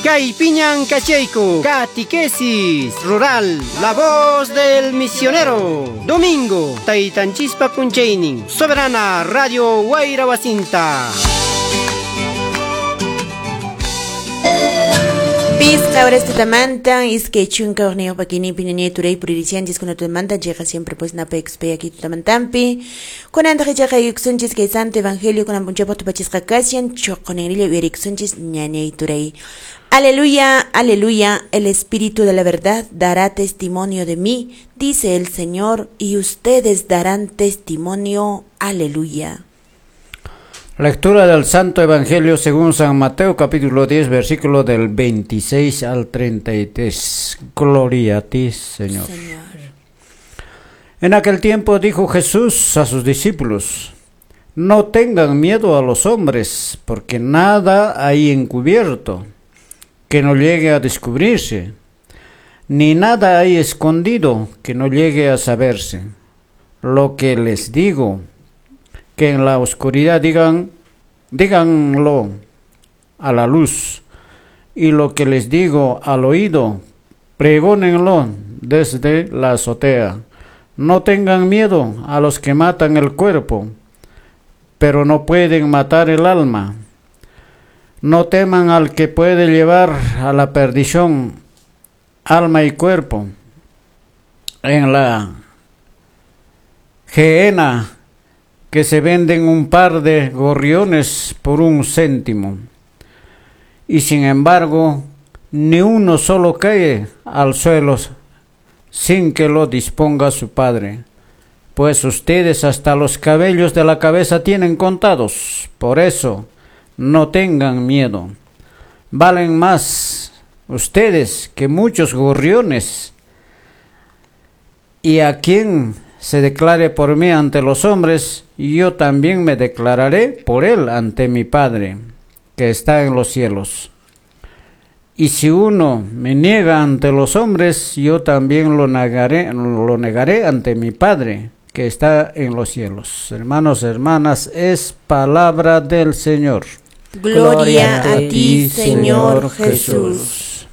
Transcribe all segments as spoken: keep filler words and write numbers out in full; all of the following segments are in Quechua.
Kaypiñan kachayku, Catequesis Rural, la voz del misionero. Domingo, Taytanchispa p'unchaynin, Soberana Radio Wayra Wasinta. Pisqa horas tutamantan, iskay chunka hukniyuq pakinipi ñañay turay puririchanchis kuna tutamantan, chayqa siempre pues napaykuspay aquí tutamantanpi. Kunantaq ichaqa yuyaykusunchis kay Santo Evangelio kunan p'unchawpaq tupachisqa kashan, chuqunirilla uyarikusunchis ñañay turay. Aleluya, aleluya, el Espíritu de la verdad dará testimonio de mí, dice el Señor, y ustedes darán testimonio, aleluya. Lectura del Santo Evangelio según San Mateo, capítulo diez, versículo del veintiséis al treinta y tres. Gloria a ti, Señor. Señor. En aquel tiempo dijo Jesús a sus discípulos: no tengan miedo a los hombres, porque nada hay encubierto que no llegue a descubrirse, ni nada hay escondido que no llegue a saberse. Lo que les digo, que en la oscuridad digan, díganlo a la luz, y lo que les digo al oído, pregónenlo desde la azotea. No tengan miedo a los que matan el cuerpo, pero no pueden matar el alma. No teman al que puede llevar a la perdición alma y cuerpo en la Gehenna, que se venden un par de gorriones por un céntimo, y sin embargo ni uno solo cae al suelo sin que lo disponga su Padre. Pues ustedes hasta los cabellos de la cabeza tienen contados. Por eso no tengan miedo. Valen más ustedes que muchos gorriones. Y a quien se declare por mí ante los hombres, yo también me declararé por él ante mi Padre, que está en los cielos. Y si uno me niega ante los hombres, yo también lo negaré, lo negaré ante mi Padre, que está en los cielos. Hermanos, hermanas, es palabra del Señor. Gloria a ti, Señor Jesús.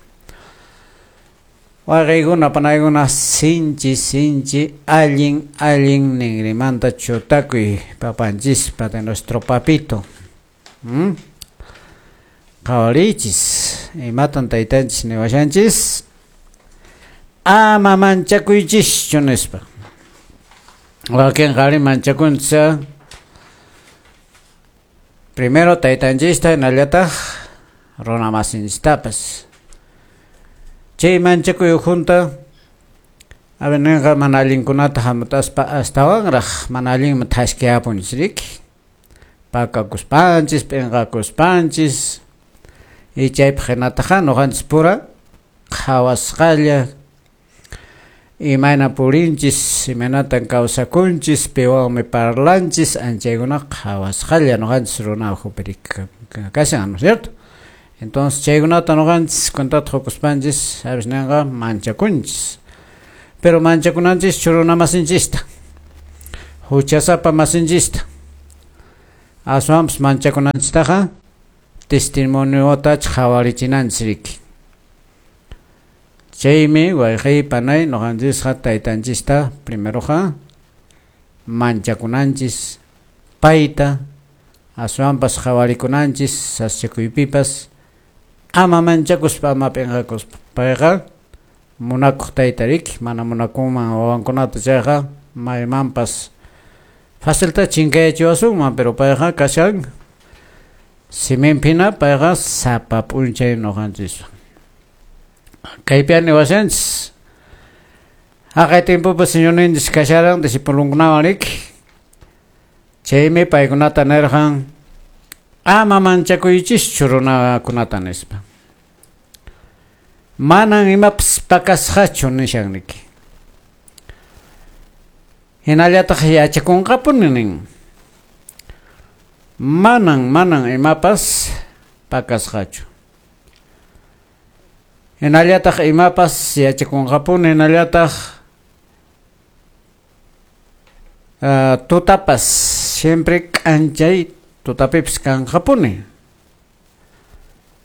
Waqaykuna panaykuna sinchi sinchi allin allin ningrimanta chutakuy papanchispa de nuestro papito. ¿Mm? Qhawarichis, imatan taytanchis niwashanchis, ama manchakuychischu nispa. Wakin qhari manchakunchis, primero taytanchista hinallataq runa masinchistapas. Chay manchakuy junta avenenqa mana allinkunata hamutaspa astawanraq mana allinman thashkiyapunchis riki. Pakakuspanchis, p'inqakuspanchis, y chaypaq hinataqa ñuqanchis pura qhawasqalla imayna purinchis, imaynatan kawsakunchis, piwanmi parlanchis, anchaykuna qhawasqalla ñuqanchis runa ukhupi kashan, ¿no es cierto? Entonces chaykunata ñuqanchis cuentata qukuspanchis, sabes ninqa manchakunchis. Pero manchakunanchis runa masinchista, huchasapa masinchista. Aswanpas manchakunanchistaqa testimoniota qhawarichinanchis riki. Chaymi wayqay panay ñuqanchisqa taytanchista primeroqa manchakunanchis payta, aswanpas qhawarikunanchis sasachakuypipas. Ama manchakuspa, ama p'inqakuspa. Payqa munakuq tayta riki, mana munakunman wawankunata chayqa maymanpas facilta chinkayachiwasunman, pero payqa kashan siminpina, payqa sapa p'unchay ñuqanchispa. Kaypi niwashanchis haqay timpupi Señorninchis kasharan discipulunkunawan riki. Chaymi paykunata nirqan: ama manchakuychischu runakunata nispa. Manan imapas pakasqachu nishan niki. Hinallataq yachakunqapuni nin. Manan manan imapas pakasqachu. Hinallataq imapas yachakunqapuni, hinallataq uh, tutapas siempre k'anchay tutapipis kanqapuni.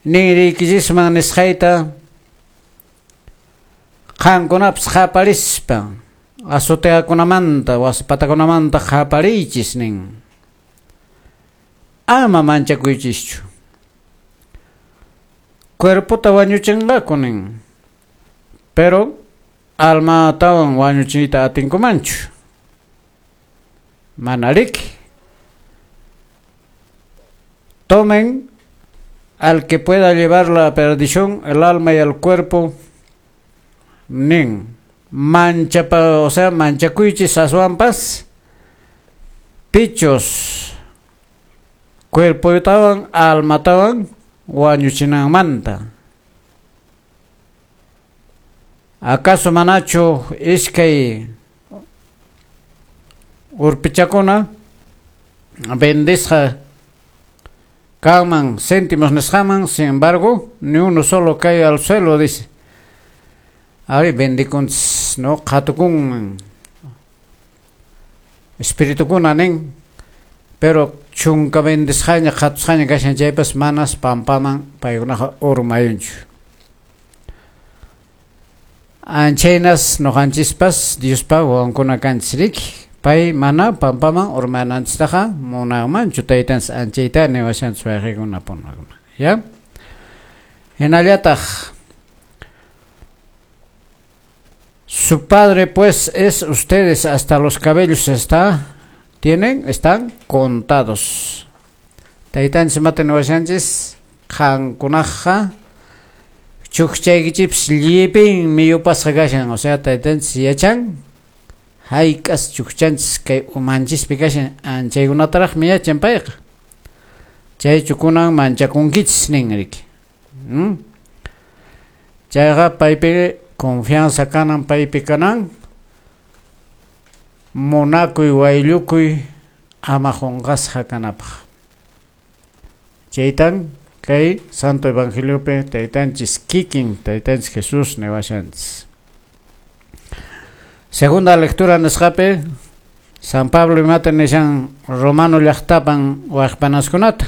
Ninriykichisman nisqayta qankunapas qaparispa azoteakunamanta waspatakunamanta qapariychis nin. Ama manchakuychischu. Cuerpota wañuchinqaku nin. Pero almatawan wañuchiyta atinkumanchu. Manariki. Tomen al que pueda llevar la perdición, el alma y el cuerpo, nin. Mancha, o sea, manchakuychis aswanpas, pichos, cuerpotawan, almatawan, wañuchinanmanta. Acaso manachu iskay urpichakuna vendisqa kanman céntimos nisqaman, sin embargo, ni uno solo cae al suelo, dice. Ari bendikunchis, no qhatukunman espiritukuna nin, pero chunka vendisqaña qhatusqaña kashan chaypas manas pampaman paykunaqa urmayunchu. Anchaynas noqanchispas Diospa wawankuna kanchis riki, pay mana pampaman urmananchistaqa munanmanchu taytanchis anchayta niwashanchis wayqikuna punakuna, ya? Hinallataq su padre pues es ustedes, hasta los cabellos está tienen, están contados. Taytanchis mata niwashanchis qankunaqa chukchaykichipis llipinmi yupasqa kashan, o sea taytanchis yachan hayk'as chukchanchis kay umanchispi kashan, anchaykunataraqmi yachan payqa. Chaychu kunan manchakunkichis nin riki. ¿Mm? Chayqa paypi confianza kanan, paypi kanan, munakuy wayllukuy ama qunqasqa kanapaq. Chaytan kay Santo Evangeliopi taytanchis kikin taytanchis Jesús niwashanchis. Segunda lectura nisqapi San Pablo imata nishan Romano llaqtapan waqpanaskunata.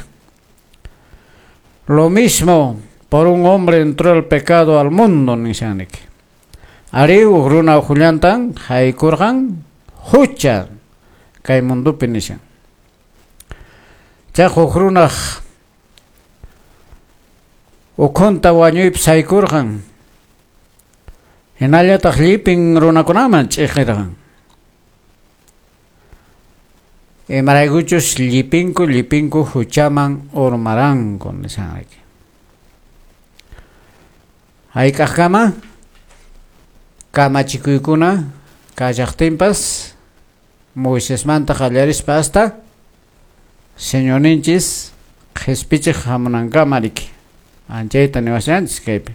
Lo mismo por un hombre entró el pecado al mundo nishaniki. Ari huk runa uqullantan haykurqan hucha kay mundupi nishan. Chay huk runaq ukhunta wañuypis haykurqan. Hinallataq llipin runakunaman ch'iqirqan. Imaraykuchus llipinku llipinku huchaman urmaranku nishanriki. Hayk'aqkama kamachikuykuna kallaqtinpas Moisesmanta qallarispa hasta Señorninchis qhispichiq hamunankama riki. Anchayta niwashanchis kaypi.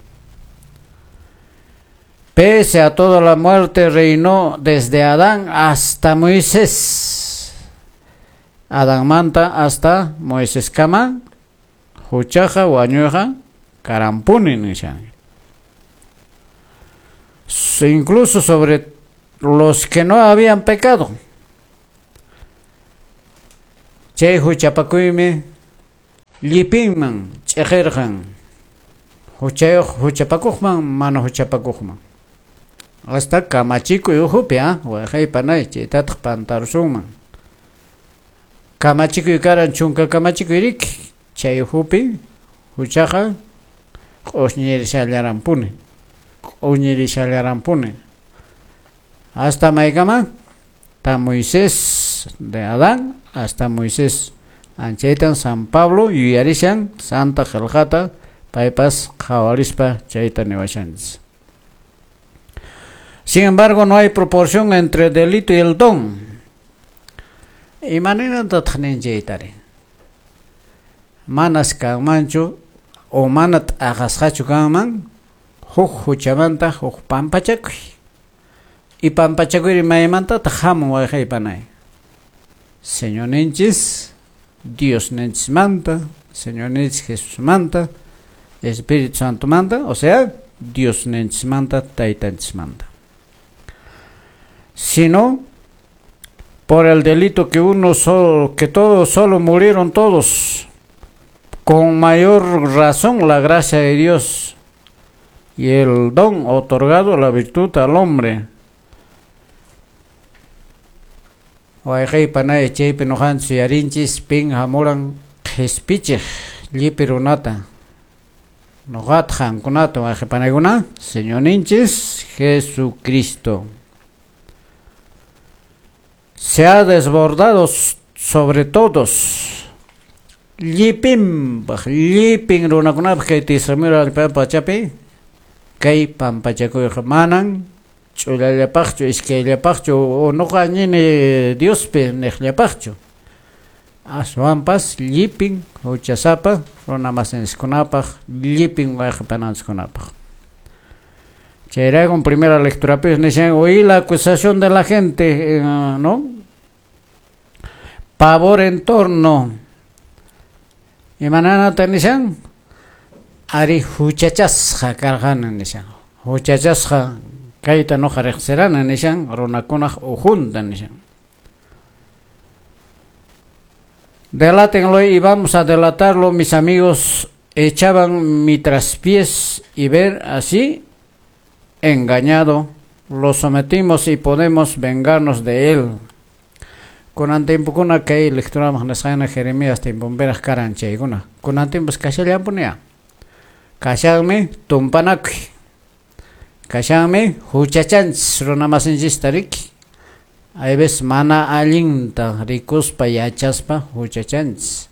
Pese a toda la muerte reinó desde Adán hasta Moisés. Adánmanta hasta Moiseskama huchaqa wañuyqa karampuni nishan. Incluso sobre los que no habían pecado. Chay huchapakuymi llipinman ch'iqirqan. Huchayuq huchapakuqman mana huchapakuqman. Hasta kamachikuy uhupi, ah, wayqaypanay chaytataq pantarusunman. Kamachikuy karan chunka kamachikuy riki, chay uhupi huchaqa q'ushñirishallaranpuni. Q'uñirishallaranpuni. Hasta maykama ta Moisés de Adán hasta Moisés. Anchaytan San Pablo yuyarishan Santa Qillqata paypas qhawarispa chayta niwashanchis. Sin embargo, no hay proporción entre el delito y el don. Imaninantataq nin chaytari? Manas kanmanchu o mana t'aqasqachu kanman huk huchamanta huk pampachakuy. Y pampachakuyri maymantataq hamun wayqaypanay? Señorninchis Diosninchismanta, Señorninchis Jesusmanta, Espíritu Santomanta, o sea, Diosninchismanta, Taytanchismanta. Sino por el delito que uno solo, que todos solo murieron todos. Con mayor razón la gracia de Dios y el don otorgado la virtud al hombre. Wayqey panay chaypi nuqanchis yuyarinchis pin hamuran qhispichiq llipi runata. Nuqata qankunata wayqey panaykuna Señorninchis Jesucristo. Se ha desbordado sobre todos. Llipinpaq, llipin runakunapaq kay tisamira allpa pachapi kay pampachakuyqa manan ch'ullallapaqchu, iskayllapaqchu, nuqa ñini Diospi niqllapaqchu. Aswanpas llipin huchasapa runamasinchikkunapaq, llipin wayqipananchikkunapaq. Chayrayku primera lectura nishan, oí la acusación de la gente, eh, ¿no? Pavor en torno. Imananata nishan, ari huchachasqa karqani nishan. Huchachasqa kayta nuqa riqsirani nishan, runakunaq ujunta nishan. Delátenlo y vamos a delatarlo, mis amigos echaban mi traspiés y ver así engañado, lo sometimos y podemos vengarnos de él. Kunan tiempokuna kay lecturamaq nisqayna Jeremías tiemponpiraq karan chaykuna. Kunan tiempos kashallanpunia. Kashanmi tumpanakuy. Kashanmi huchachanchis runamasinchista riki. Hay veces mana allinta rikuspa yachaspa huchachanchis.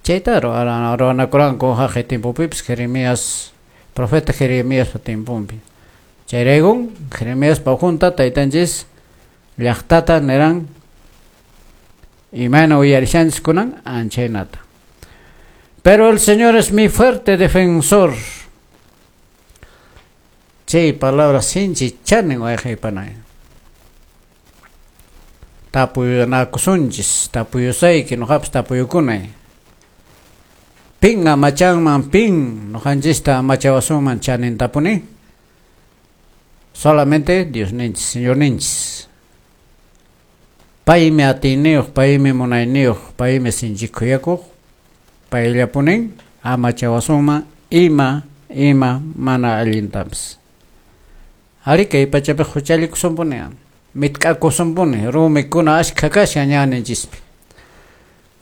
Chayta ruwanakuranku haqay tiempopipis Jeremías, profeta Jeremías tiemponpi. Chayraykun Jeremías junta taytanchis llaqtata niran imayna uyarishanchis kunan anchaynata. Pero el Señor es mi fuerte defensor. Chay palabra sinchi chanin wayqaypanay. Tapuyunakusunchis, tapuyusayki nuqapas tapuyukunay. Pin amachanman, pin nuqanchista amachawasunman chanintapuni. Solamente Dios ninchis, Señor ninchis. Paymi atiyniyuq, paymi munayniyuq, paymi sinchikuyakuq, payllapunin amachawasunman ima, ima mana allintapas. Ari kay pachapi huchallikusunpuni, mitk'akusunpuni, rumikuna ashkha kashan ñanninchispi.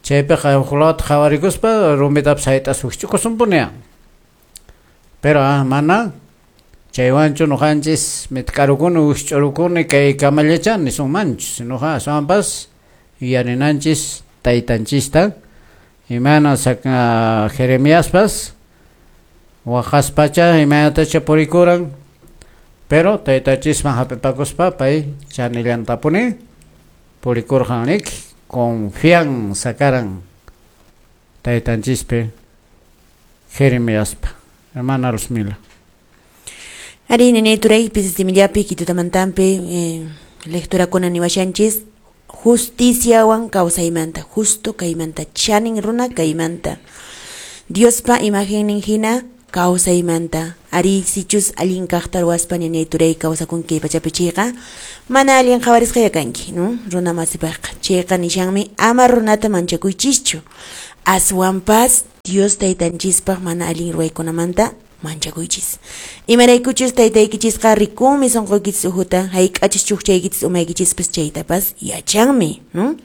Chaypiqa huklawata qhawarikuspa rumitapas hayt'aspa wikch'ukusunpuni. Pero ah, mana chaywanchu nuqanchis mitk'arukuni wikch'urukuni kay kamallacha nisunmanchu, sinuqa aswanpas yuyarinanchis taytanchista imayna Jeremiaspas waqaspacha imaynatacha purikuran, pero taytanchisman hap'ipakuspa pay chanillantapuni purikurqan riki, confianza karan taytanchispi Jeremiaspa. Hermana Luzmila. Ari nene turay pisisimillapi kitutamantampi eh, lectura kuna niwashanchis justiciawan kawsaymanta, justo kaymanta, chanin runa kaymanta, Diospa imagennin hina kawsaymanta. Ari sichus allin kaqta ruwaspa nene turay kawsakunki pachapi chayqa mana allin qhawarisqa kanki, no? Runa masipaqqa chayqa nishanmi ama runata manchakuychischu, aswanpas Dios taytanchispaq mana allin ruwaykunamanta manchakuychis. Imaraykuchus taytaykichisqa rikunmi sunquykichis uhuta, hayk'achis chukchaykichis umaykichispas chaytapas yachanmi, no?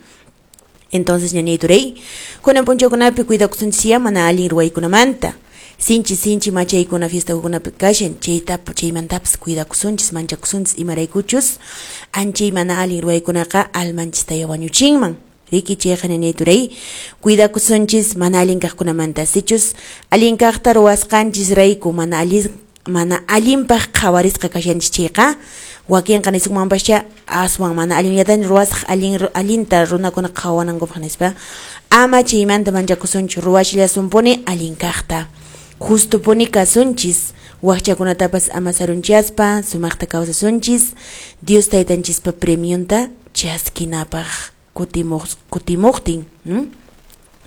Entonces ñañay turay, kunan p'unchawkunapi cuidakusunchis mana allin ruwaykunamanta. Sinchi sinchi machaykuna fiestakunapi kashan, chayta chaymantapas cuidakusunchis, manchakusunchis, imaraykuchus anchay mana allin ruwaykunaqa almanchista wañuchinman. Riki chayqa ñañay turay, cuidakusunchis mana allin kaqkunamanta. Sichus allin kaqta ruwasqanchis rayku mana allin mana allinpaq qhawarisqa kashanchis chayqa wakinqa nisunmanpascha aswan mana allinllatan ruwasaq allin allinta runakuna qhawanankupaq nispa, ama chaymanta manchakusunchu, ruwashillasunpuni allin kaqta. Justupuni kasunchis, waqchakunatapas ama sarunchaspa sumaqta kawsasunchis, Dios taytanchispa premionta chaskinapaq kutimuq kutimuqtin, ¿no?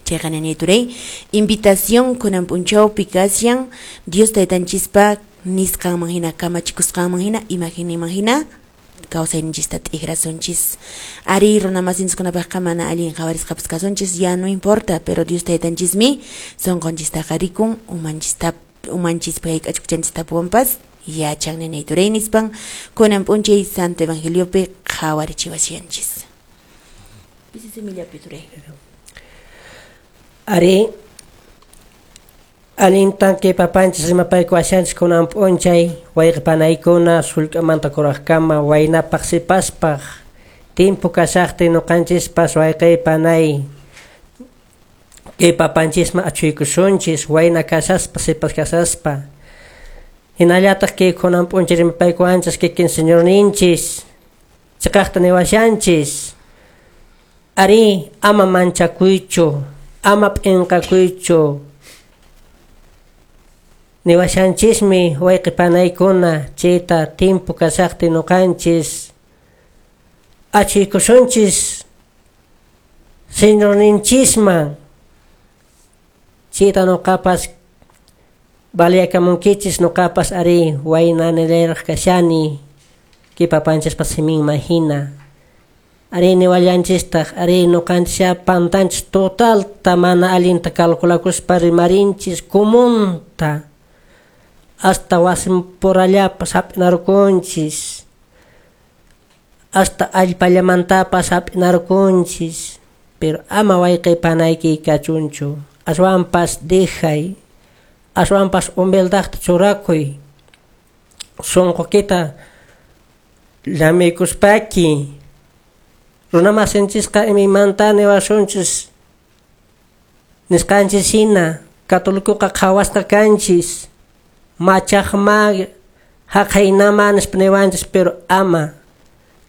Chayqa ñañay turay, invitación kunan p'unchawpi kashan Dios taytanchispa nisqanman hina, kamachikusqanman hina, imaginninman hina kawsayninchista t'ikrasunchis. Ari runamasinchikkunapaqqa mana allin qhawarisqapas kasunchis, ya no importa, pero Dios taytanchismi sunqunchistaqa rikun, umanchista umanchispi hayk'achkuchanchistapuwanpas yachan ninay turay nispan kunan p'unchay Santo Evangeliopi qhawarichiwashanchis. Pisi simillapi turay. Ari allintan kay papanchis rimapaykuwashanchis kunan p'unchay wayqipanaykuna sullk'amanta kuraqkama waynapaq sipaspaq timpu kashaqtin ñuqanchispas wayqipanay kay papanchisman achuykusunchis wayna kashaspa sipas kashaspa hinallataq kay kunan p'unchay rimapaykuwanchis kikin Señorninchis chiqaqta niwashanchis ari ama manchakuychu ama p'inqakuychu niwashanchismi wayqipanaykuna chayta timpu kashaqtin ñuqanchis achuykusunchis Señorninchisman chayta ñuqapas baliakamunkichis ñuqapas ari wayna nilayraq kashani kay papanchispa siminman hina ari niwallanchistaq ari ñuqanchis pantanchis totalta mana allinta calculakuspa rimarinchis comunta hasta wasinpurallapas hap'inarqunchis hasta allpallamantapas hap'inarqunchis pero ama wayqipanayki kachunchu aswanpas dejay aswanpas humildadta churakuy sunqukita llamiykuspaki runamasinchisqa imaymanta niwasunchis nisqanchis hina katolikuqa qhawasqa kanchis machaqma haqaynama nispa niwanchis pero ama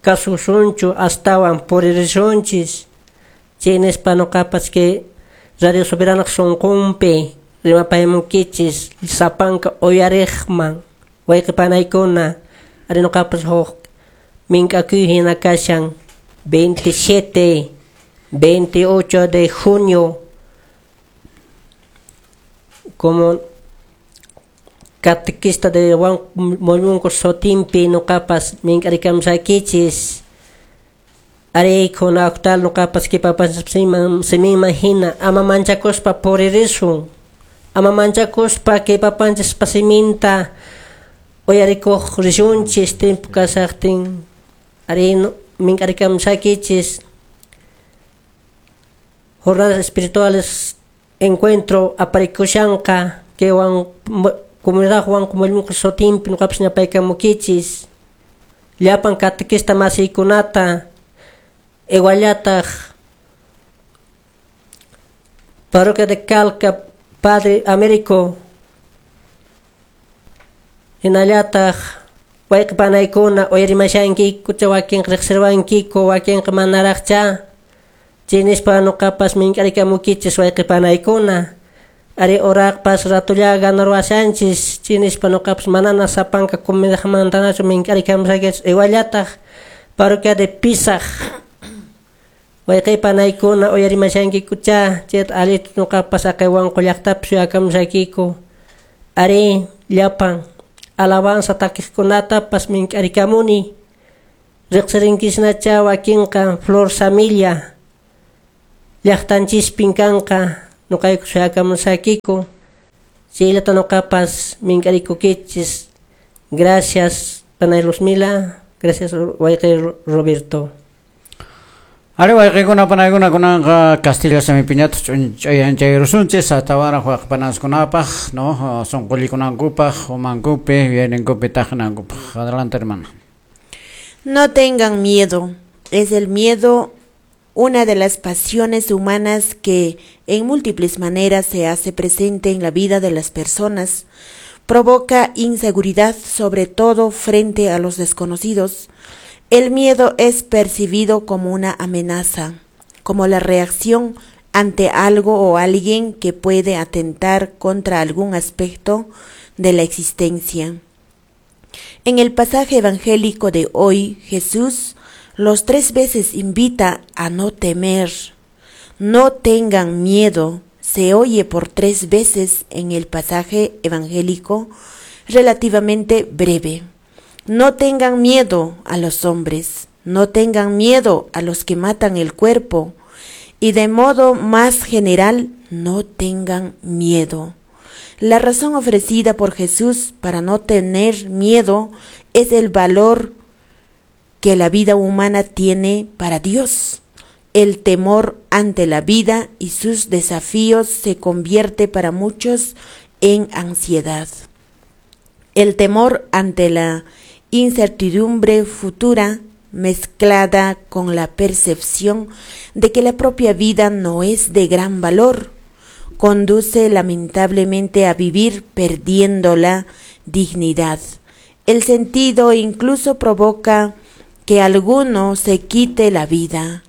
kasusunchu astawan puririsunchis chay nispa ñuqapas kay Radio Soberanaq sunqunpi rimapaymunkichis sapanka uyariqman wayqipanaykuna ari ñuqapas huk mink'akuy hina kashan veintisiete, veintiocho de junio como catequista de Juan Mollunco Sotimpi ñuqapas mink'arikamsaykichis ari kuna octal ñuqapas kipapas siminman hina ama manchakuspa puririsun ama manchakuspa kipapanchispa siminta uyarikuq rishunchis timpu kashaqtin ari mink'arikamsaykichis jornadas espirituales encuentro aparikushanqa kay Juan comunidad Juan Mollunco Sotimpi ñuqapas ñapaykamukichis llapan catequista masiykunata iguallataq parroquia de Calca Padre Américo hinallataq wayqipanaykuna uyarimashankiku wakinqa riqsirwankiku wakinqa manaraqcha chay nispa ñuqapas mink'arikamukichis wayqipanaykuna ari uraqpas ratulla ganarwashanchis chay nispa ñuqapas manana sapanka comunidadmantanachu mink'arikamusaykichis iguallataq parroquia de Pisaq wayqipanaykuna uyarimashankikucha chayta allitu ñuqapas aqay Wanqu llaqtapi suyakamusaykiku ari llapan alabanza takiqkunatapas mink'arikamuni riqsirinkisnacha wakinqa Flor Samilla llaqtanchispin kanqa ñuqayku suyakamusaykiku chayllata ñuqapas mink'arikukichis. Gracias panay Luzmila, gracias wayqi Roberto. Ari wayqikuna panaykuna kunanqa Castilla simipiñataq ch'uyanchayrusunchis atawaraq wayqipanaskunapaq no sunqullikunankupaq umankupi yuyayninkupi taqnankupaq. Adelante, hermana. No tengan miedo. Es el miedo una de las pasiones humanas que en múltiples maneras se hace presente en la vida de las personas. Provoca inseguridad, sobre todo frente a los desconocidos. El miedo es percibido como una amenaza, como la reacción ante algo o alguien que puede atentar contra algún aspecto de la existencia. En el pasaje evangélico de hoy, Jesús los tres veces invita a no temer. No tengan miedo, se oye por tres veces en el pasaje evangélico relativamente breve. No tengan miedo a los hombres, no tengan miedo a los que matan el cuerpo, y de modo más general, no tengan miedo. La razón ofrecida por Jesús para no tener miedo es el valor que la vida humana tiene para Dios. El temor ante la vida y sus desafíos se convierte para muchos en ansiedad. El temor ante la incertidumbre futura, mezclada con la percepción de que la propia vida no es de gran valor, conduce lamentablemente a vivir perdiendo la dignidad. El sentido incluso provoca que alguno se quite la vida.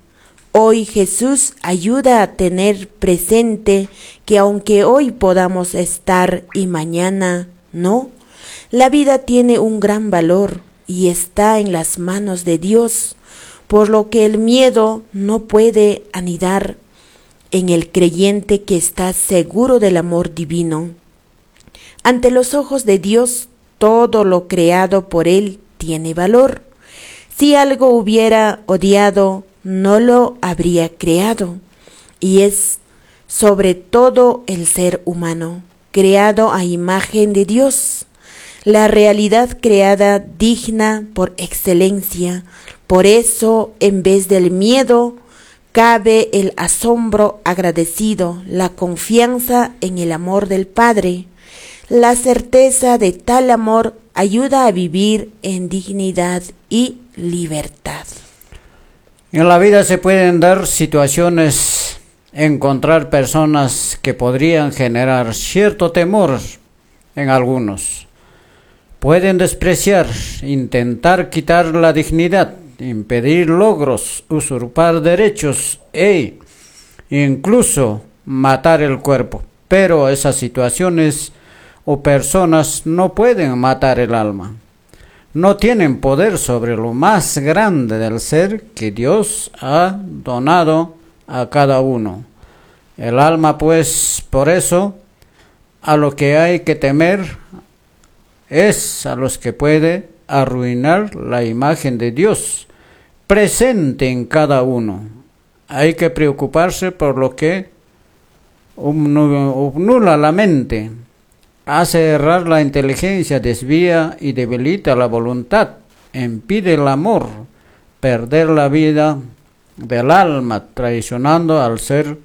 Hoy Jesús ayuda a tener presente que aunque hoy podamos estar y mañana no, la vida tiene un gran valor y está en las manos de Dios, por lo que el miedo no puede anidar en el creyente que está seguro del amor divino. Ante los ojos de Dios, todo lo creado por Él tiene valor. Si algo hubiera odiado, no lo habría creado. Y es sobre todo el ser humano, creado a imagen de Dios, la realidad creada digna por excelencia. Por eso, en vez del miedo, cabe el asombro agradecido, la confianza en el amor del Padre. La certeza de tal amor ayuda a vivir en dignidad y libertad. En la vida se pueden dar situaciones, encontrar personas que podrían generar cierto temor en algunos. Pueden despreciar, intentar quitar la dignidad, impedir logros, usurpar derechos e incluso matar el cuerpo. Pero esas situaciones o personas no pueden matar el alma. No tienen poder sobre lo más grande del ser que Dios ha donado a cada uno. El alma, pues, por eso, a lo que hay que temer es a los que puede arruinar la imagen de Dios presente en cada uno. Hay que preocuparse por lo que obnula la mente, hace errar la inteligencia, desvía y debilita la voluntad, impide el amor, perder la vida del alma, traicionando al ser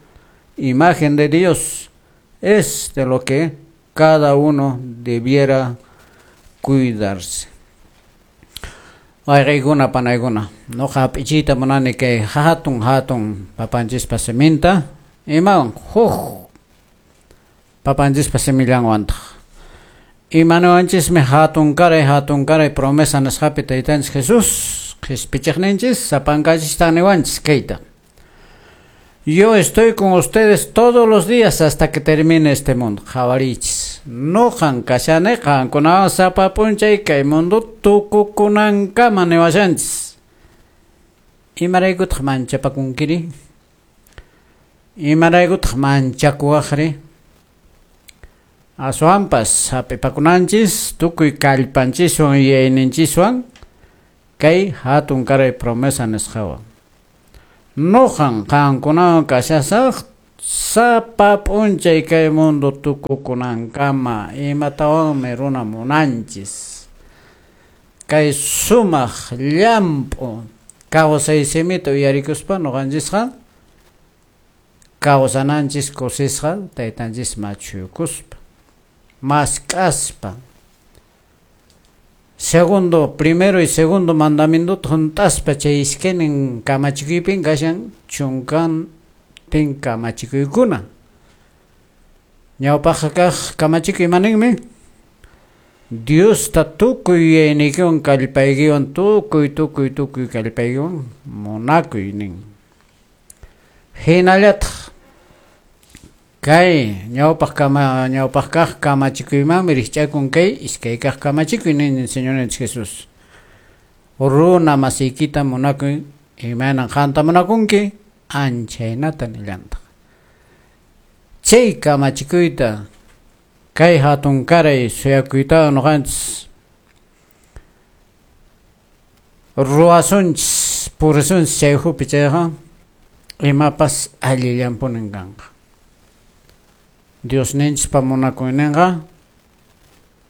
imagen de Dios. Es de lo que cada uno debiera cuidarse. Wayqaykuna panaykuna, nuqa hap'ichiyta munani kay hatun hatun papanchispa siminta, imawan huk papanchispa simillanwantaq. Imanuwanchismi hatun karay hatun karay promesa nisqapi taytanchis Jesús qhispichiqninchis sapankachistan niwanchis kayta. Yo estoy con ustedes todos los días hasta que termine este mundo. Qhawarichis. Nuqan kashani qankunawan sapa p'unchay kay mundo tukukunankama niwashanchis. Imaraykutaq manchapakunkiri? Imaraykutaq manchakuwaqri? Aswanpas hap'ipakunanchis tukuy kallpanchiswan yuyayninchiswan kay hatun karay promesa nisqawan. Nuqan qankunawan kashasaq sapa p'unchay kay mundo tukukunankama. Imatawanmi runa munanchis kay sumaq llamp'u kawsay simita uyarikuspa nuqanchisqa kawsananchis kusisqa taytanchis machuykuspa mask'aspa. Segundo, primero y segundo mandamiento junt'aspa chay iskaynin kamachikuypin kashan chunkantin kamachikuykuna. Ñawpaqqa kaq kamachikuy imaninmi? Diosta tukuy yuyayniykiwan kallpaykiwan tukuy tukuy tukuy kallpaykiwan munakuy nin. Hinallataq kay ñawpaq kama ñawpaq kaq kamachikuymanmi rikch'akun kay iskay kaq kamachikuy nin Señorninchik Jesús. Runa masiykita munakuy imaynan qanta munakunki anchaynata nillantaq. Chay kamachikuyta kay hatun karay suyakuytawan nuqanchis Ruwasunchis purisunchis chay ukhupi chayqa imapas allillanpunin kanqa. Diosninchikpa munakuyninqa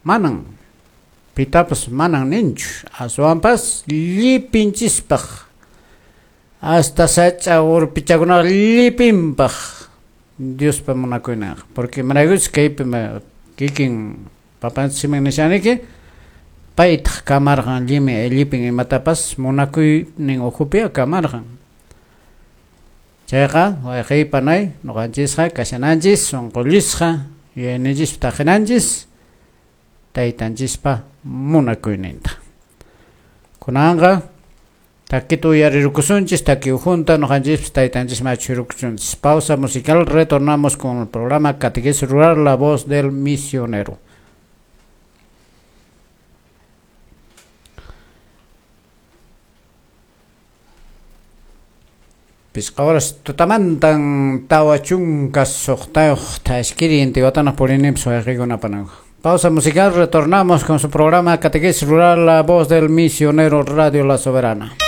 manan pitapas manan ninchu, aswanpas llipinchispaq hasta sach'a urpichakunaqa llipinpaq Diospa munakuyninqa, porque imaraykuchus kaypi kikin papanchik simin nishaniki paytaq kamarqan llimi llipin imatapas munakuynin ukhupi kamarqan. Chayqa wayqey panay ñuqanchisqa kashananchis sunqullisqa yuyayninchispi taqinanchis taytanchispa munakuyninta. Kunanqa takita uyarirukusunchis, taki ukhunta ñuqanchispas taytanchisman achhurukusunchis. Pausa musical, retornamos con el programa Catequesis Rural, la voz del misionero. Pisqa horas tutamantan tawa chunka suqtayuq tashkiri intiwatanaq purininpas wayqiykunapananku. Pausa musical, retornamos con su programa Catequesis Rural, la voz del misionero, Radio La Soberana.